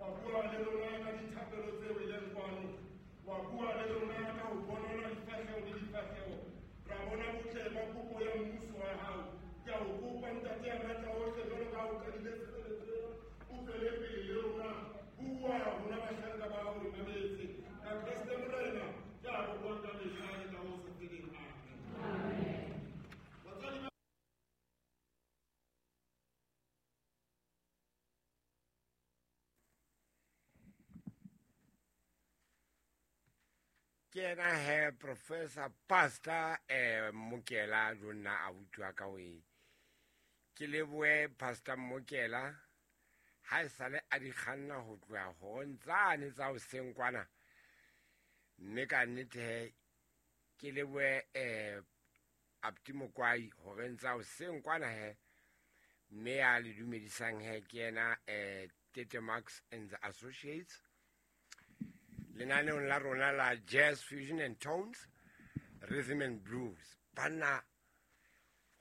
Wa bua le rona ka dithapelo tse weleng kwano, wa bua le rona ka ho bonana difahleho le difahleho, ra bona botle ba kopo ya mmuso wa hao. Ke a o kopa, Ntate ya matla ohle, jwalo ka ha o qadile tshebeletso ena, o tswele pele le rona. Bua rona bahlanka ba hao re mametse. Ka Kreste Morena ke a bokwang ka mehla le ka ho sa feleng. Amen. Batswadi ba Ke yena he Professor Pastor Mokela jonna abuti wa ka we. Ke lebohe Pastor Mokela ha e sale a di kganna ho tloha horong tsane tsa hoseng kwana. Mme ka nnete he ke lebohe Apti Mokwai horeng tsa hoseng kwana he. Mme ya le dumedisang he ke yena Tete Max and the Associates. Lenaneong la rona la Jazz Fusion and Tones, Rhythm and Blues. Banna,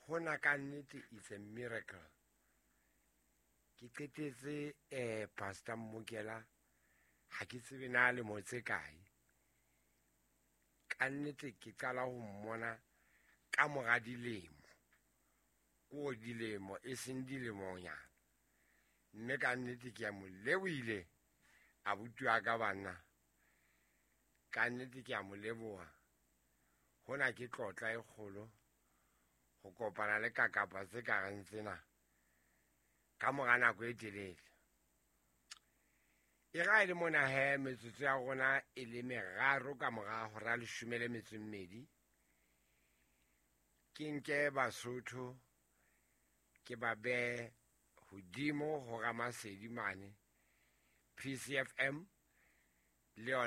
hona ka nnete it's a miracle. Ke qetetse Pastor Mmokela, ha ke tsebe na lemo tse kae. Ka nnete ke qala ho mmona ka mora dilemo. Ko dilemo, e seng dilemonyana. Mme ka nnete ke a mo lebohile abuti wa ka banna. Ka nnete ke a mo leboha. Hona ke tlotla e kgolo ho kopana le kakapa tse ka reng tsena ka mora nako e telele. E ra e le mona he metsotso ya rona e le meraro ka mora hora leshome le metso e mmedi. Ke nke Basotho ke ba behe hodimo ho Ramasedi mane PCFM le yona.